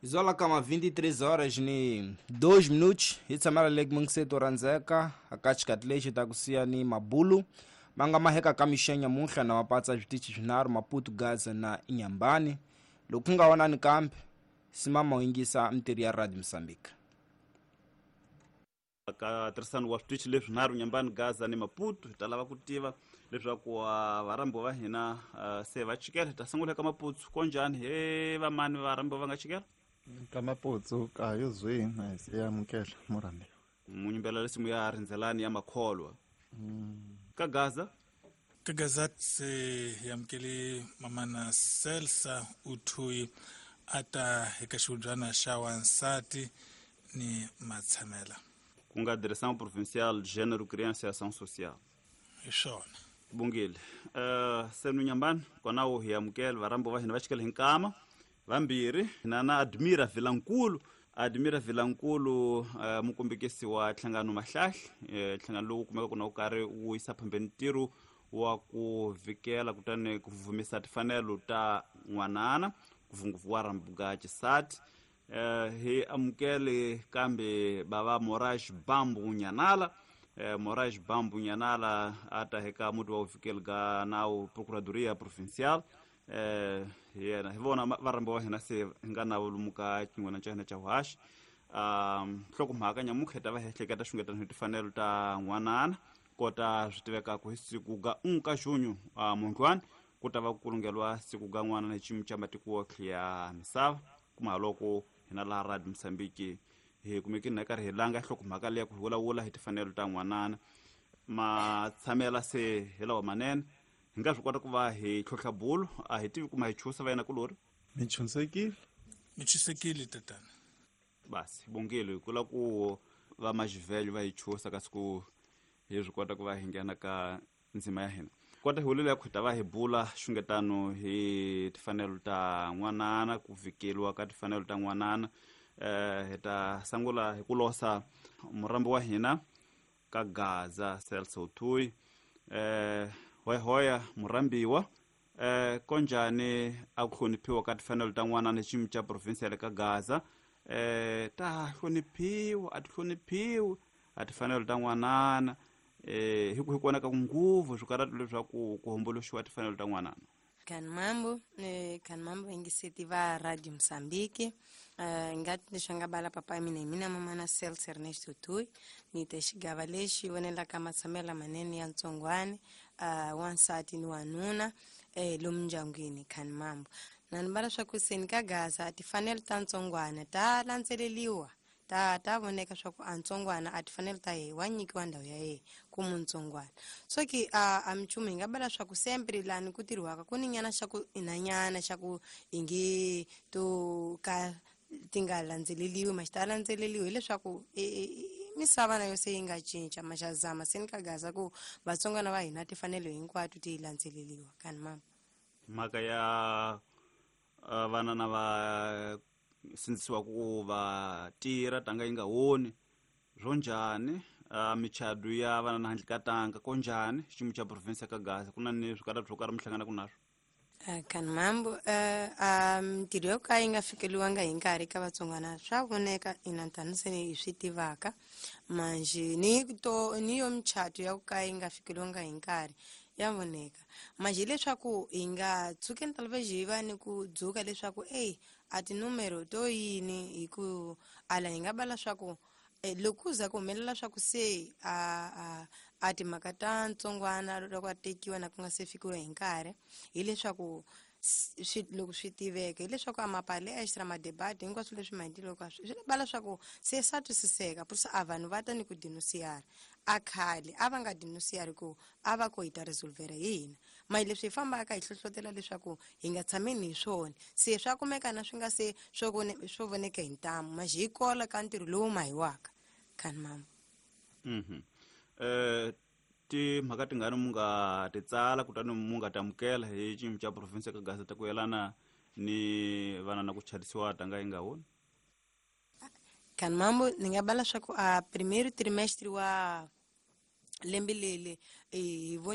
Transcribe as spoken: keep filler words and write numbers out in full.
Zola kama vinte e três horas ni dois minutos hi tshamela le mungiseto randzeka aka xikati lexi ta kusiya ni mabulu ma nga maheka ka mixenya muhla na mapatsa switichi swinharhu Maputo, Gaza na Inhambane. Loko ku nga vonani kambe simama u yingisa mintirho ya Radio Mozambique. Ka tirhisano wa switichi leswinharhu, Nyambani, Gaza ni Maputo, hi ta lava ku tiva leswaku varhambiwa va hina se va chikela. Hi ta sungula eka Maputo. Konjhani he vamani varhambiwa va nga chikela? Ka Maputo ka yo zwini a hi se amukela murhambiwa. Munyimbela lesimu ya rindzelani ya makholwa. Ka Gaza? Ka Gaza se hi amukele mamana Celsa Uthuyi, a ta eka xihubyana xa wansati ni matshamela. Ku nga Direção Provincial de Gênero, Criança e Ação Social. Hi swona. Bungile. uh, senu Nyambani kwanawo hi amukela varhambiwa va hina va chikela hi nkama vambirhi hina na Admira Vilankulu. Admira Vilankulu, uh, mukombekisi wa nhlangano Mahlahla, eh, nhlangano lowu kumekaka na wu karhi wu yisa phambeni ntirho wa ku vikela kutani ku vumisa timfanelo ta n'wanana, ngopfungopfu wa rambuka xisati. eh hi amukele kambe bava Moraes Bambu Nyanala. eh, Moraes Bambu Nyanala a ta eka muti wa uvikeli ka nawu, Procuradoria Provincial. eh yena hi vona varhambiwa wa hina se hi nga na lomu ka xin'wana xa hina xa vuhaxi. um nhlokomhaka nyamutlha hi ta va hi ehleketa xungetano hi timfanelo ta n'wanana. Kota swi tivekaka, hi siku ga un ka junho uh, mundlwani ku ta va ku kulungeliwa siku ga n'wanana hi xiyimo xa matiko yotlhe ya misava. Kuma loko hina laha Radio Mozambique hi kumekini na karhi hi langa nhlokomhaka leya ku hi vulavula hi timfanelo ta n'wanana. Matshamela se hi lawa manene, hi nga swi kota ku va hi tlhontlha bulu. A hi tivi kuma hi chusa va yena kulori. Mi chunsekile. Mi chusekile, tatana. Basi bongile hi kula ku va maxivelho va hi chusa, kasi ku hi swi kota ku va hi nghena ka ndzima ya hina. Kota hi vulele ya ku hi ta va hi bula xungetano hi timfanelo ta n'wanana, ku vikeliwa ka timfanelo ta n'wanana. eh hi ta sungula hi ku losa murambi wa hina ka Gaza, Celso Uthuyi. eh hoya murambiwa, eh konjani a ku hloniphiwa ka timfanelo ta n'wanana xiyimo xa province ya le ka Gaza? eh ta hloniphiwa, a ti hloniphiwi a timfanelo ta n'wanana? eh hi ku hi kona ka nguvu swikarhati leswaku ku homboloxiwa timfanelo ta n'wanana. Kan mambo, eh, kan mambo ingiseti va Radio Mozambique. Uh, ngati leswi nga bala papa mina, hi mina mamana Celso Ernesto Tui, ni te xigava lexi vonelaka matshamelo lamanene ya ntsongwani, uh, wansati ni wanuna, eh, lomu ndyangwini. Kan mambo na ni bala swa ku seni ka Gaza timfanelo ta ntsongwana ta landzeleliwa, ta ta voneka swa ku a ntsongwana a tifanele ta yehe wa nyikiwa ndhawu ya yehe ku muntsongwana. So ki a a minchumu hi nga bala swa ku sempre lani ku tirhiwaka ku ni nyana xa ku inanyana xa ku i nge to ka ti nga landzeleliwi, ma xi ta landzeleliwi, hileswaku misava na yo se yi nga cinca. Ma xa zama se ni ka Gaza ku vatsongwana va hina timfanelo hinkwato ti landzeleliwa. Kani mama. Mhaka ya uh, vana na va sindzisiwa ku va tirha tanga yi nga honi, swo njhani? uh, michado ya vana na handle ka tanga, ko njhani xiyimo xa province ka Gaza? Ku na ni swikarhati swo karhi mi hlanganaka naswo? Uh, kan mambo, uh, uh, mintirho yo ka yi nga fikeliwanga hi nkarhi ka vatsongwana swa voneka ina, tani se hi swi tivaka. Manjhe ni to ni yo michato ya ku ka yi nga fikeliwanga hi nkarhi ya voneka. Manjhe hileswaku hi nga tshukeni talvez hi va ni ku dzuka leswaku ey a tinumero to yini, hi ku ala hi nga bala swa ku eh, loko ku za ku humelela swa ku se a a a timhaka ta ntsongwana loko a tekiwa na ku nga se fikiwa hi nkarhi, hileswaku swi loko swi tiveka hileswaku a mapalestra madebate hinkwaswo leswi maendlelo ka swi bala swa ku se swa twisiseka, purisa a vanhu va ta ni ku denunciar. A khale a va nga denunciari, ku a va ko hi ta resolvera hi hina. Mahi leswi hi fambaka hi hlohlotela leswaku hi nga tshameni hi swona, se swa kumeka na swi nga se swo swo voneka hi ntamu maxi hi kola ka ntirho lowu mahiwaka. Khani mama. Mhm eh timhaka tingani mu nga ti tsala kutani mu nga ti amukela hi xiyimo xa province ka Gaza ta ku yelana ni vana na ku chadisiwa tanga yi nga honi? Kan mambo, ni nga bala swa ku a primeiro trimestre wa lembe leli hi voni.